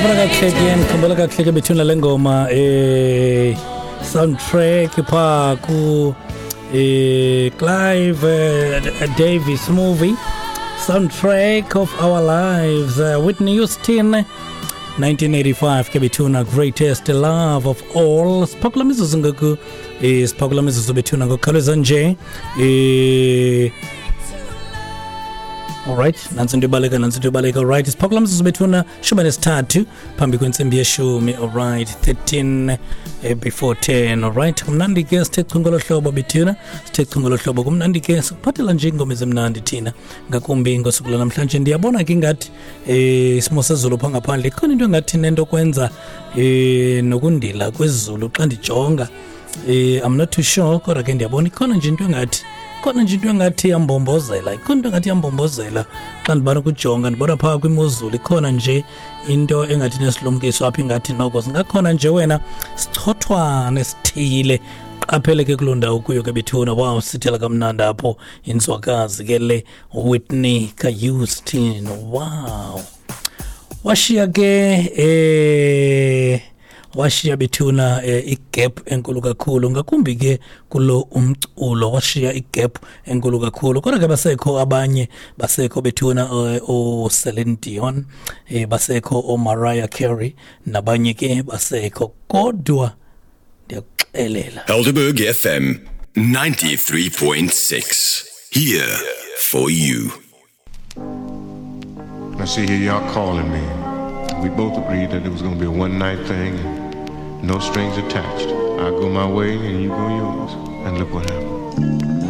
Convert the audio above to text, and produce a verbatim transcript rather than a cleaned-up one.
Ndikhumbula kakuhle ke, ndikhumbula kakuhle ke bethuna le ngoma eh soundtrack phaa ku eh Clive eh, Davis movie, Soundtrack of Our Lives, uh, Whitney Houston, nineteen eighty-five ke bethuna, Greatest Love of All. Siphakula mizuzu ngoku, eh siphakula mizuzu bethuna ngokukhawuleza nje. eh Alright, nansi into ibaleka, nansi into ibaleka. Alright, siphakula mzuzu bethuna, shumi nesithathu phambi kwentsimbi yeshumi. Alright, thirteen eh, before ten. Alright, kumnandi ke, sithe chu ngolo hlobo bethuna, sithe chu ngolo hlobo. Kumnandi ke, sikuphathela nje iingoma ezimnandi thina, ngakumbi ngosuku lwanamhlanje. Ndiyabona ke ingathi eh isimo sezulu phaa ngaphandle ikhona into engathi nento kwenza eh nokundila kwezulu xa ndijonga. eh I'm not too sure, kodwa ke ndiyabona ikhona nje into engathi, khona nje into engathi iyambombozela, ikhona into engathi iyambombozela. Xa ndibana ukujonga, ndibona phaa kwimozulu ikhona nje into engathi nesilumkiso apha, ingathi noko singakhona nje wena sichothwane sithile. Qaphele ke kuloo ndawo kuyo ke bethuna. Wow, sithela kamnandi apho inzwakazi ke le, Whitney kaHouston. Wow, washiya ke eh washiya bethuna eh, igap enkulu kakhulu, ngakumbi ke kulo umculo, washiya igap enkulu kakhulu. Kodwa ke basekho abanye, basekho bethuna, eh, o Celine Dion, eh basekho o Mariah Carey nabanye ke basekho, kodwa ndiyakuxelela. Helderberg F M ninety-three point six. Here for you. I see here y'all calling me. We both agreed that it was gonna be a one night thing and no strings attached. I go my way and you go yours. And look what happened.